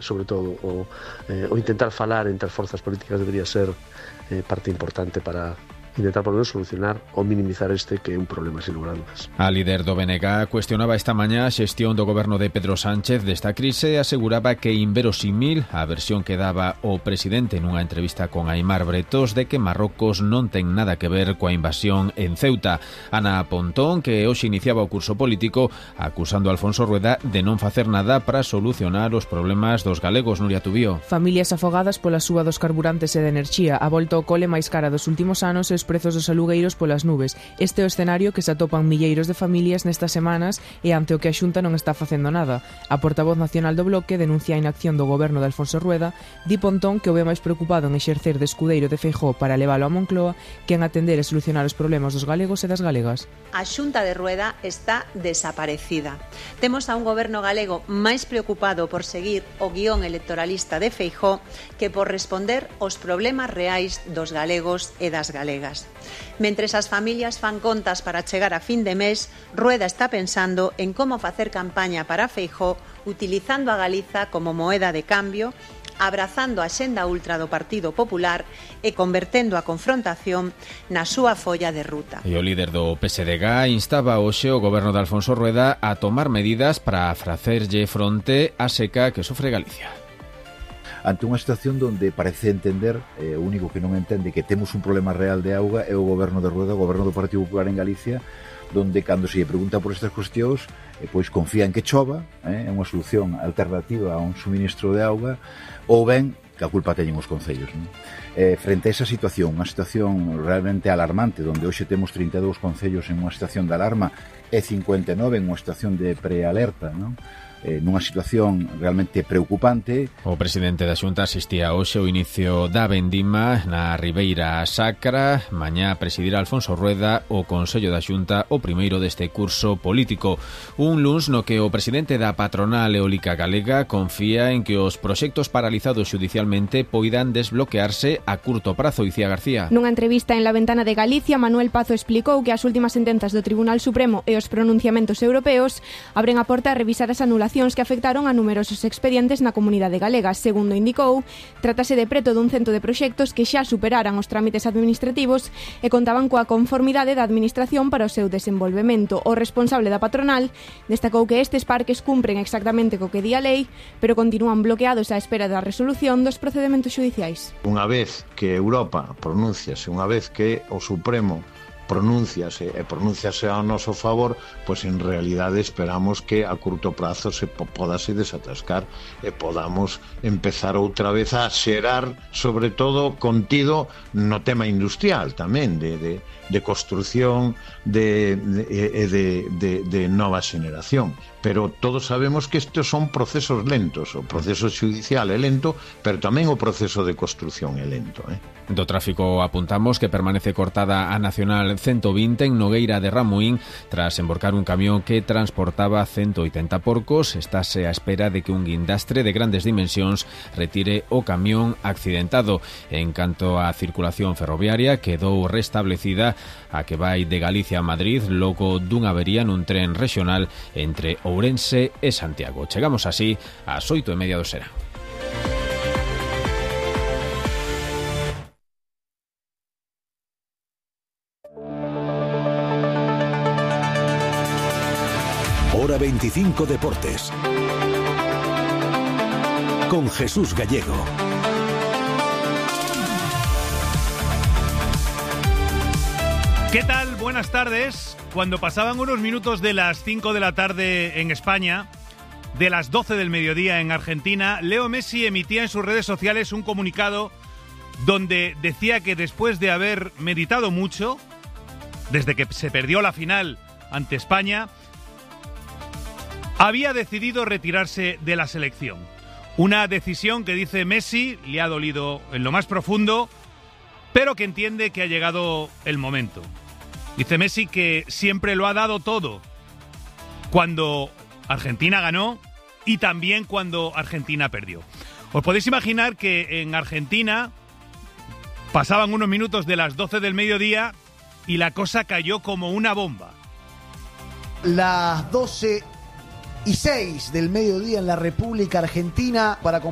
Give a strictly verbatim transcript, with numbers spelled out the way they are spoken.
sobre todo, o, eh, o intentar falar entre as forzas políticas debería ser eh, parte importante para intentar por lo menos solucionar ou minimizar este que é un problema sin lugar a dudas. A líder do B N G cuestionaba esta mañá a xestión do goberno de Pedro Sánchez desta crise e aseguraba que inverosímil a versión que daba o presidente nunha entrevista con Aimar Bretos de que Marrocos non ten nada que ver coa invasión en Ceuta. Ana Pontón, que hoxe iniciaba o curso político, acusando a Alfonso Rueda de non facer nada para solucionar os problemas dos galegos. Nuria Tubío. Familias afogadas pola suba dos carburantes e de enerxía, a volta ao cole máis cara dos últimos anos e os prezos dos alugueiros polas nubes. Este é o escenario que se atopan milleiros de familias nestas semanas e ante o que a Xunta non está facendo nada. A portavoz nacional do Bloque denuncia a inacción do goberno de Alfonso Rueda, di Pontón que o ve máis preocupado en exercer de escudeiro de Feijóo para leválo a Moncloa que en atender e solucionar os problemas dos galegos e das galegas. A Xunta de Rueda está desaparecida. Temos a un goberno galego máis preocupado por seguir o guión electoralista de Feijóo que por responder aos problemas reais dos galegos e das galegas. Mentres as familias fan contas para chegar a fin de mes, Rueda está pensando en como facer campaña para Feijóo utilizando a Galiza como moeda de cambio, abrazando a xenda ultra do Partido Popular e convertendo a confrontación na súa folla de ruta. E o líder do P S D G instaba hoxe o goberno de Alfonso Rueda a tomar medidas para facerlle fronte á seca que sofre Galicia. Ante unha situación donde parece entender, eh, o único que non entende que temos un problema real de auga é o goberno de Rueda, o goberno do Partido Popular en Galicia, donde cando se lle pregunta por estas cuestións, eh, pois confía en que chova, eh, é unha solución alternativa a un suministro de auga, ou ben que a culpa teñen os concellos. Non? Eh, frente a esa situación, unha situación realmente alarmante, donde hoxe temos trinta e dous concellos en unha situación de alarma e cincuenta e nove en unha situación de prealerta, non? Eh, nunha situación realmente preocupante. O presidente da Xunta asistía hoxe ao inicio da vendima na Ribeira Sacra. Mañá presidirá Alfonso Rueda o Consello da Xunta, o primeiro deste curso político. Un luns no que o presidente da patronal eólica galega confía en que os proxectos paralizados xudicialmente poidan desbloquearse a curto prazo. Icía García. Nunha entrevista en La Ventana de Galicia, Manuel Pazo explicou que as últimas sentenzas do Tribunal Supremo e os pronunciamentos europeos abren a porta a revisar as anulacións que afectaron a numerosos expedientes na comunidade galega. Segundo indicou, trátase de preto dun cento de proxectos que xa superaran os trámites administrativos e contaban coa conformidade da administración para o seu desenvolvemento. O responsable da patronal destacou que estes parques cumpren exactamente co que di a lei, pero continúan bloqueados á espera da resolución dos procedementos xudiciais. Unha vez que Europa pronunciase, unha vez que o Supremo pronunciase e pronunciase ao noso favor, pois en realidade esperamos que a curto prazo se podase desatascar e podamos empezar outra vez a xerar, sobre todo contido no tema industrial tamén, de, de, de construción de, de, de, de, de nova xeneración. Pero todos sabemos que estes son procesos lentos, o proceso xudicial é lento, pero tamén o proceso de construción é lento. Eh? Do tráfico apuntamos que permanece cortada a Nacional ciento vinte en Nogueira de Ramuín tras emborcar un camión que transportaba ciento oitenta porcos. Estáse á espera de que un guindastre de grandes dimensións retire o camión accidentado. En canto á circulación ferroviaria, quedou restablecida a que vai de Galicia a Madrid logo dunha avería nun tren rexional entre Ourense e Santiago. Chegamos así ás oito e media do serán. Hora veinticinco Deportes con Jesús Gallego. ¿Qué tal? Buenas tardes. Cuando pasaban unos minutos de las cinco de la tarde en España, de las doce del mediodía en Argentina, Leo Messi emitía en sus redes sociales un comunicado donde decía que después de haber meditado mucho, desde que se perdió la final ante España, había decidido retirarse de la selección. Una decisión que, dice Messi, le ha dolido en lo más profundo, pero que entiende que ha llegado el momento. Dice Messi que siempre lo ha dado todo cuando Argentina ganó y también cuando Argentina perdió. Os podéis imaginar que en Argentina pasaban unos minutos de las doce del mediodía y la cosa cayó como una bomba. Las doce y seis del mediodía en la República Argentina para compartir